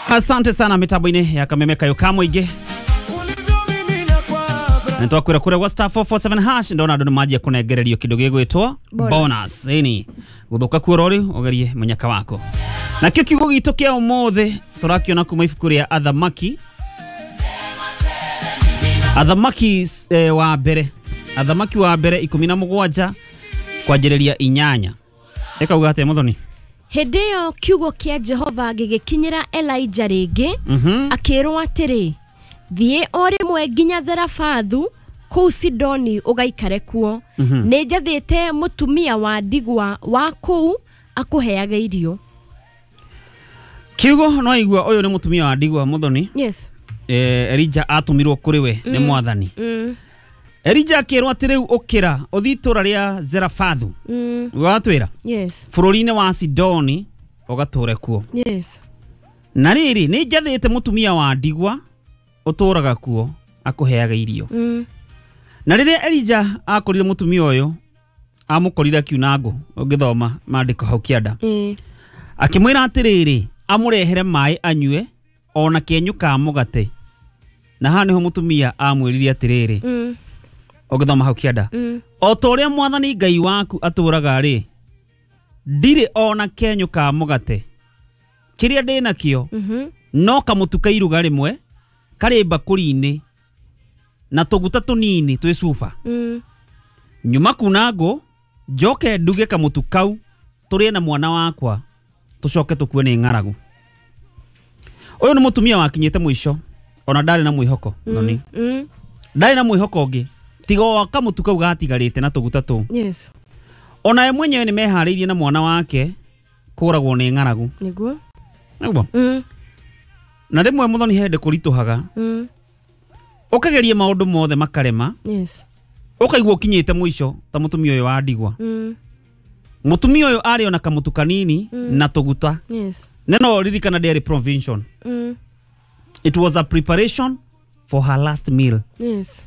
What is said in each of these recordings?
Asante sana mitambo-inĩ ya Kameme Kayo ka mũingĩ. Nitwakwĩra kũrĩa gwa *447# ndona andũ nĩmanjia kũnengererio kĩndũ gĩgwĩtwo bonus. Ĩni gũthũka kuo rori ũgerie mũnyaka wako. Nakĩo kiugo gitũ kĩa ũmũthĩ tũrakiona kuma ibuku rĩa Athamaki. Athamaki wa mbere, Athamaki wa mbere 17 kwanjĩrĩria 8. Ĩkauga atĩa Muthoni? Hĩndĩ ĩyo kiugo kĩa Jehova gĩgĩkinyĩra Elijah rĩngĩ, akĩrwo atĩrĩ, thiĩ o rĩmwe nginya Zerafathu kũu Sidoni ũgaikare kuo. Nĩ njathĩte mũtumia wa ndigwa wa kũu akũheage irio. Kiugo no igua ũyũ nĩ mũtumia wa ndigwa Muthoni. Yes. Elijah atũmirwo kũrĩ we nĩ mwathani. Elijah akĩrwo atĩ rĩu ũkĩra ũthiĩ itũũra rĩa Zerafathu. Watwĩra? Yes. Bũrũri-inĩ wa Sidoni ũgatũre kuo. Yes. Na rĩrĩ nĩ njathĩte mũtumia wa ndigwa ũtũraga kuo akũheaga irio. Na rĩrĩa Elijah akorire mũtumia ũyũ amũkorire akiuna ngũ, ũngĩthoma maandĩko hau kĩanda. Akĩmwĩra atĩrĩrĩ amũrehere maĩ anyue ona kĩenyũ ka mũgate. Na haha nĩho mũtumia amwĩrire atĩrĩrĩ, ũngĩthoma hau kĩanda, o ta ũrĩa mwathani Ngai waku atũraga rĩ, ndirĩ ona kĩenyũ ka mũgate, kĩrĩa ndĩ nakĩo no kamũtu ka iruga rĩmwe karĩ mbakũri-inĩ na tũguta tũnini twĩ cuba. Nyuma kuna ngũ njoke nduge kamũtu kau tũrĩe na mwana wakwa tũcoke tũkue nĩ ng'aragu. Ũyũ nĩ mũtumia wakinyĩte mũico, ona ndarĩ na mwĩhoko. Noni ndarĩ na mwĩhoko ũngĩ tiga o kamũtu kau gatigarĩte na tũguta tũu. Yes. Ona ye mwenyewe nĩ meharĩirie na mwana wake kũragwo nĩ ng'aragu. Nĩguo. Nĩguo. Na rĩmwe Muthoni hĩndĩ kũritũhaga, ũkageria maũndũ mothe makarema. Yes. Ũkaigua ũkinyĩte mũico ta mũtumia ũyũ wa ndigwa. Mũtumia ũyũ arĩ ona kamũtu kanini na tũguta. Yes. Neno ririkana ndĩarĩ provision. It was a preparation for her last meal. Yes.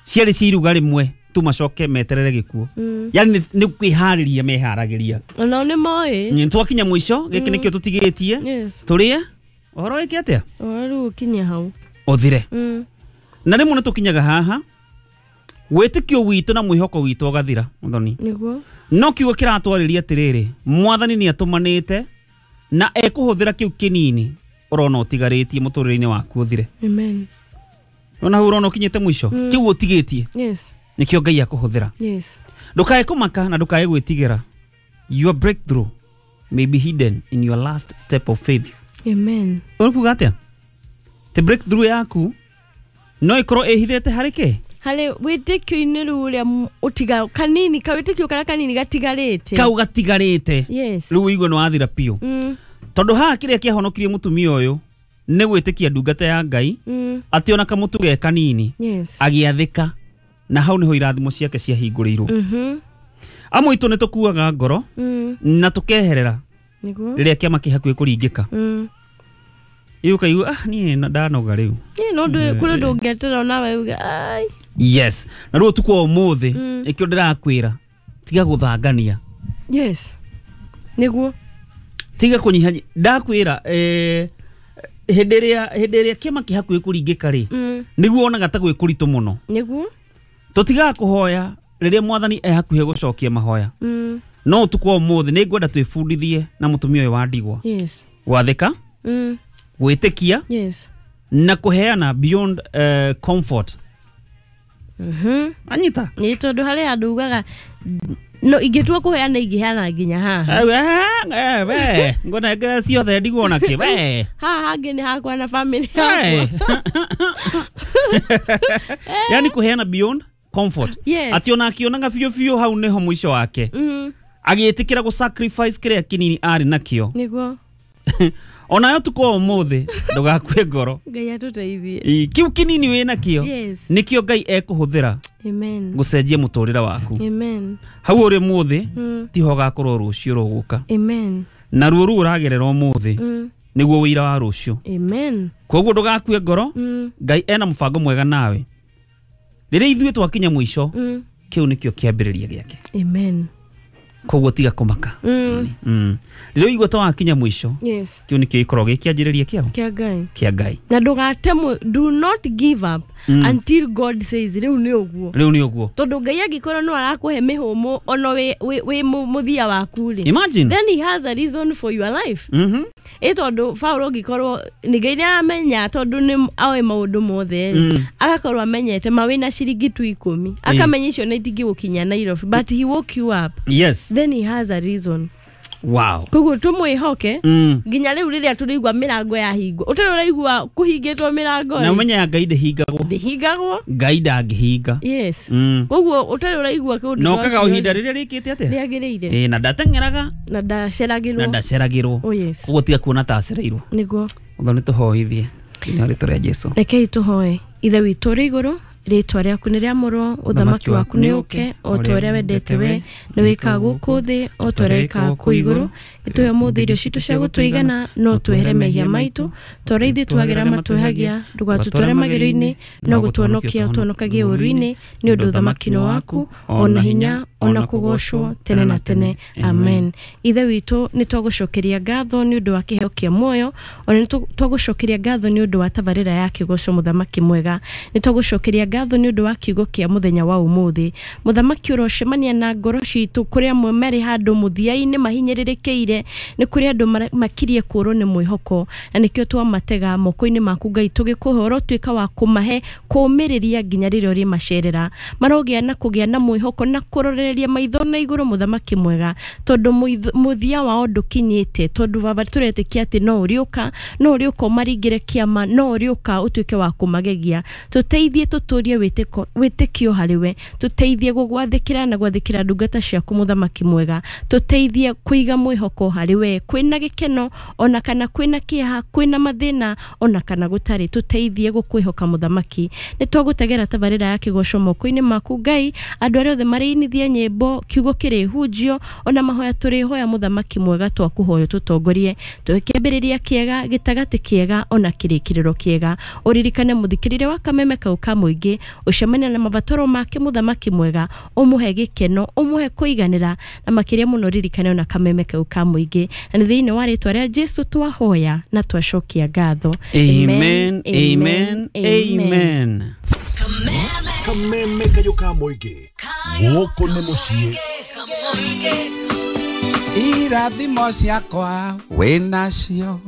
Ciarĩ cia iruga rĩmwe tu macoke meterere gĩkuũ. Yani nĩ kwĩharĩria meharagĩria. Onao nĩ moĩ. Nĩ twakinya mũico, gĩkĩ nĩkĩo tũtigĩtie. Yes. Tũrĩe ũhoro wĩke atĩa? Ũhoro rĩu ũkinye hau. Ũthire. Na rĩmwe nĩ tũkinyaga haha wĩtĩkio witũ na mwĩhoko witũ ũgathira Muthoni. Nĩguo. No kiugo kĩratwarĩria atĩrĩrĩ, mwathani nĩ atũmanĩte na ekũhũthĩra kĩu kĩnini ũrona ũtigarĩtie mũtũrĩre-inĩ waku ũthire. Amen. Ona hau ũrona ũkinyĩte mũico, kĩu ũtigĩtie. Yes. Nĩkĩo Ngai akũhũthĩra. Yes. Ndũkae kũmaka na ndũkae gwĩtigĩra. Your breakthrough may be hidden in your last step of faith. Amen. Ũkuga atĩa? Te breakthrough yaku no ĩkorwo ĩhithĩte harĩ kĩ? Harĩ wĩtĩkio-inĩ rĩu ũrĩa ũtiga kanini, kawĩtĩkio karĩa kanini gatigarĩte. Kau gatigarĩte. Yes. Rĩu ũigue nĩ wathira biũ. Tondũ haha kĩrĩa kĩahonokirie mũtumia ũyũ nĩ gwĩtĩkia ndungata ya Ngai, atĩ ona kamũtu ge kanini. Yes. Agĩathĩka na hau nĩho irathimo ciake ciahingũrĩirwo. Amwe aitũ nĩ tũkuaga ngoro na tũkeherera Nĩguo. rĩrĩa kĩama kĩ hakuhĩ kũringĩka. Rĩu ũkaigua, ah, niĩ ndanoga rĩu. Niĩ no kũrĩ ũndũ ũngĩeterera onawe uge, ai. Yes. Na rĩu ũtukũ wa ũmũthĩ nĩkĩo ndĩrakwĩra tiga gũthangania. Yes. Nĩguo. Tiga kũnyiha. Ndakwĩra hĩndĩ ĩrĩa kĩama kĩ hakuhĩ kũringĩka rĩ, nĩguo wonaga ta gwĩ kũritũ mũno. Nĩguo. Tũtigaga kũhoya rĩrĩa mwathani e hakuhĩ gũcokia mahoya. No ũtukũ wa ũmũthĩ nĩ ngwenda twĩbundithie na mũtumia ũyũ wa ndigwa. Yes. Gwathĩka, gwĩtĩkia, Yes. na kũheana beyond comfort. Anyita. Nĩ tondũ harĩ andũ ugaga no ingĩtua kũheana ingĩheana nginya haha. We ngũnengere ciothe ndigwo nakĩ we. Haha hangĩ nĩ hakwa na family yakwa. Yani kũheana beyond comfort. Yes. Atĩ ona akĩonaga biũ biũ hau nĩho mũico wake. Agĩtĩkĩra gũ sacrifice kĩrĩa kĩnini arĩ nakĩo. Nĩguo. Onayo tukũ wa ũmũthĩ ndũgakue ngoro. Ngai atũteithie. Kĩu kĩnini wĩ nakĩo. Yes. Nĩkĩo Ngai ekũhũthĩra. Amen. Gũcenjia mũtũrĩre waku. Amen. Hau ũrĩ ũmũthĩ tiho ũgakorwo rũciũ rũgũka. Amen. Na ruo rũu ũragerera ũmũthĩ nĩguo ũira wa rũciũ. Amen. Koguo ndũgakue ngoro. Ngai ena mũbango mwega nawe. Rĩrĩa ithuĩ twakinya mũico, kĩu nĩkĩo kĩambĩrĩria gĩake. Amen. Koguo tiga kũmaka. Rĩrĩa ũigua ta wakinya mũico, Yes. kĩu nĩkĩo gĩkoragwo gĩ kĩanjĩrĩria kĩao Kĩa Ngai. Kĩa Ngai. Na ndũgatemo, do not give up until God says rĩu nĩ ũguo. Rĩu nĩ ũguo. Tondũ Ngai angĩkorwo no arakũhe mĩhũmũ ona wĩ mũthia waku rĩ, Imagine. then he has a reason for your life. Ĩ tondũ Paul ũngĩkorwo nĩ Ngai nĩaramenya, tondũ nĩ oĩ maũndũ mothe rĩ, agakorwo amenyete ma wĩna ciringi tu 10, akamenya icio nĩ itingĩgũkinya Nairobi, but he woke you up. Then he has a reason. Wow. Koguo tũmwĩhoke nginya rĩu rĩrĩa tũrĩigua mĩrango yahingwo. Ũtarĩ ũraigua kũhingĩtwo mĩrango Na rĩ, ũmenye ya Ngai ndĩhingagwo. Ndĩhingagwo. Ngai ndangĩhinga. Yes. Koguo ũtarĩ ũraigua kĩũndũ Na ta ũkaga ũcio ihinda rĩ, rĩrĩa rĩkĩte atĩa? Rĩagĩrĩire. Ĩ, na ndateng'eraga. Na Na ndaceragĩrwo. ndaceragĩrwo. Oh yes. Koguo tiga kuona ta acereirwo. Nĩguo. Ũguo nĩ tũhoithie thĩinĩ wa rĩtwa rĩa Jesu. Rekei tũhoe. Ithe witũ ũrĩ igũrũ, rĩtwa rĩaku nĩ rĩamũrwo, ũthamaki waku nĩ ũke, o ta ũrĩa wendete we nĩ wĩkaga gũkũ thĩ o ta ũrĩa wĩkaga kũu igũrũ. Ĩtũhe ũmũthĩ irio citũ cia gũtũigana, no twehere mehia maitũ ta ũrĩa ithuĩ twagĩra matwĩhagia, ndũgatũtware magerio-inĩ, no gũtũhonokia ũtũhonokagie ũũru-inĩ, nĩ ũndũ ũthamaki nĩ waku, ona hinya, ona kũgoocwo tene na tene. Amen. Ithe witũ, nĩ twagũcokeria ngatho nĩ ũndũ wa kĩheo kĩa muoyo, ona nĩ twagũcokeria ngatho nĩ ũndũ wa tabarĩra ya kĩgoco, mũthamaki mwega. Nĩ twagũcokeria ngatho nĩ ũndũ wa kiugo kĩa mũthenya wa ũmũthĩ. Mũthamaki, ũrocemania na ngoro citũ kũrĩa amwe marĩ handũ mũthia-inĩ mahinyĩrĩrĩkĩire, nĩ kũrĩ andũ makirie kũrwo nĩ mwĩhoko, na nĩkĩo twamatega moko-inĩ maku Ngai, tũgĩkũhoya ũrotuĩka wa kũmahe kũũmĩrĩria nginya rĩrĩa ũrĩmacerera, marogĩa na kũgĩa na mwĩhoko na kũrorereria maitho na igũrũ, mũthamaki mwega, tondũ mũthia wao ndũkinyĩte, tondũ baba tũretĩkia atĩ no ũrĩũka, no ũrĩũka ũmaringĩre kĩama, no ũrĩũka ũtuĩke wa kũmagegia. Tũteithie tũtũrie wĩtĩkio harĩ we, tũteithie gũgwathĩkĩra na gwathĩkĩra ndungata ciaku, mũthamaki mwega, tũteithie kũiga mwĩhoko harĩ we kwĩna gĩkeno ona kana kwĩna kĩeha, kwĩna mathĩna ona kana gũtarĩ, tũteithie gũkwĩhoka, mũthamaki. Nĩ twagũtegera tabarĩra ya kĩgoco moko-inĩ maku Ngai, andũ arĩa othe marĩinithia nyĩmbo, kiugo kĩrĩhunjio, ona mahoya tũrĩhoya, mũthamaki mwega, twakũhoya tũtongorie, tũhe kĩambĩrĩria kĩega, gĩtagatĩ kĩega, ona kĩrĩkĩrĩro kĩega. Ũririkane mũthikĩrĩria wa kameme kau ka mũingĩ, ũcemania na mabataro make, mũthamaki mwega, ũmũhe gĩkeno, ũmũhe kũiganĩra, na makĩria mũno ririkane ona kameme kau ka mũingĩ. Na nĩ thĩinĩ wa rĩtwa rĩa Jesu twahoya na twacokia ngatho. Amen, amen, amen. Kameme kayo ka mũingĩ, gũkũ nĩ mũciĩ. Irathimo ciakwa wĩnacio.